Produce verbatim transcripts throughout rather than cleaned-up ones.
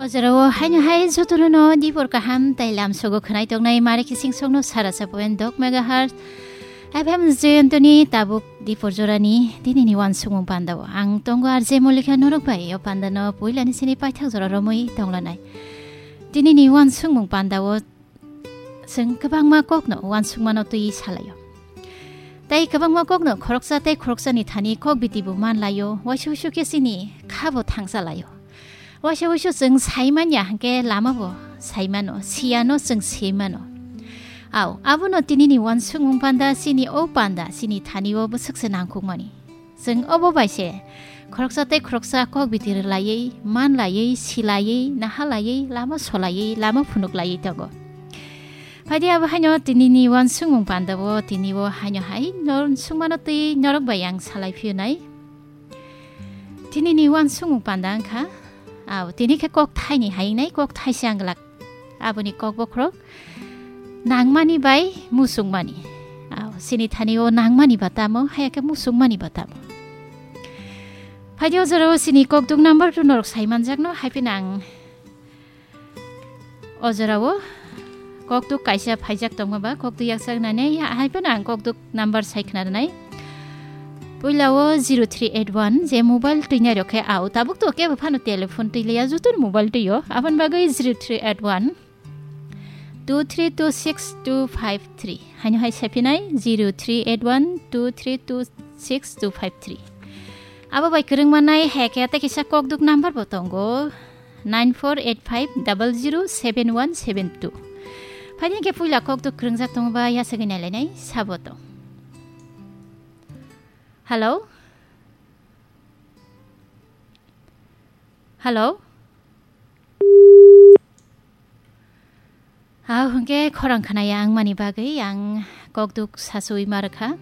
O jorao haino hai jotono no dipor kaham tai lam sogo khwnai tongnai mare kising songno sara sapoen dok megahertz F M Jayantoni tabuk dipor jorani dinini wansukmung pandao. Ang tongo R J Molika norok bai o pandano puilani sini paithak jora romwi tonglanai. Dinini wansukmung pandao chwng kwbangma kokno wansukmano twi salaio. Tai kwbangma kokno khoroksa tei khoroksani thani kok biti bo manlaio, waisa waisa khe chini kha bo thangsa laio. Waisa waisa chwng sai manya hwnkhe lama bo sai mano, siyano chwng se mano. Au, abono tinini wansukmung panda chini o panda chini thani o bwswk se nangkukmani. Chwng obo bai se khoroksa tei khoroksa kok biti rwlaiwi, manlaiwi, silaiwi, nahalaiwi, lama solaiwi, lama phunuklaiwi tongo. Phaidi abo haino tinini wansukmung pandao tini o haino hai nor-, sukmano twi norok bai ang salai phiyonai. Tinini wansukmung panda wngkha, au, tini khe kok thaini hai wngnai, kok thaisa wng glak. Aboni kok bokhorok nangmani bai musukmani. Au, chini thani o nangmani ba tamo, haya khe musukmani ba tamo. Phaidi o jorao chini kokduk number two norok sai manjakno, hai phano ang o jorao kokduk kaisa phaijak tongma ba, kokduk yaksak nani, hai phano ang kokduk number sai khna rwnai. Puila o zero three eight one, je mobile twinai rok khe au, tabuk to kebo phano telephone twi liya, joto mobile twi o. Aboni bagwi zero three eight one two three two six two five three. Haino hai sai phinai zero three eight one two three two six two five three. Abo bai kwrwng manai hai khe tei kisa kokduk number bo tongo, nine four eight five double zero seven one seven two. Phaidi khe puila kokduk kwrwngjak tongo ba yasagwi nailainai sabo tong. Hello? Hello? Hao hwnkhe khorang khnaya wngmani bagwi ang kokduk sachuwi ma rwkha.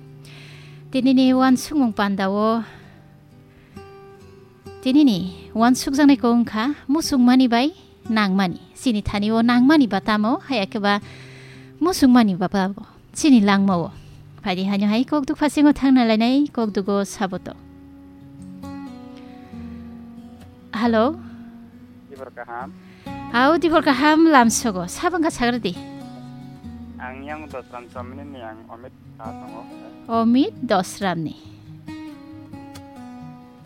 Tinini wansukmung pandao, tinini wansukjaknai kok wngkha musukmani bai nangmani. Chini thani o nangmani ba tamo, haya khe ba musukmani ba tamo. Chini langmao. Phaidi haino hai kokduk phasingo thangna lainai kokdugo saboto. Hello? Dibor kaham. Hao, dibor kaham lamsogo. Sabang kha sagradi. Ang yang Dosram Chomini ni ang Omit ka tongo. Omit Dosram ni.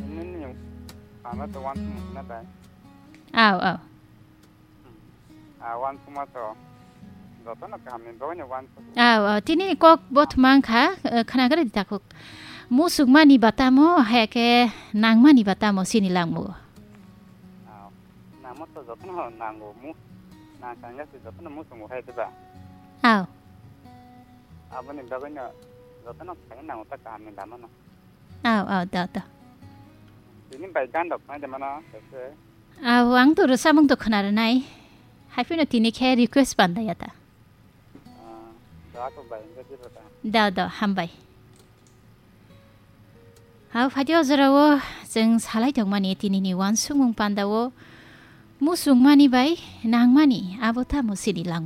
Ini ni pama to wan na bai. Ao, ao. Ah, wansukma to. Jotono kahamni bagwino wansuk. Ao, ao, tini kok bothoma wngkha, eh, khnagradi takhuk. Musukmani ba tamo, haya khe nangmani ba tamo, chini langmao. Ah, nangma to jotono nango, mu-, nangkha wngkha se jotono musungo hai diba? Ao. Aboni bagwino jotono khaina nango ta kahamni lamano. Ao, ao, da, da. Tini bai gan rok nai de mano, ese. Ao, ang to rwchapmung to khna rwnai. Hai phano tini khe request bandaya ta. Ah, da ko bai, engke di rota. Da, da, hambai. Ao, phaidi o jorao chwng salai tongmani tinini wansukmung pandao musukmani bai nangmani abo tamo chini langmao.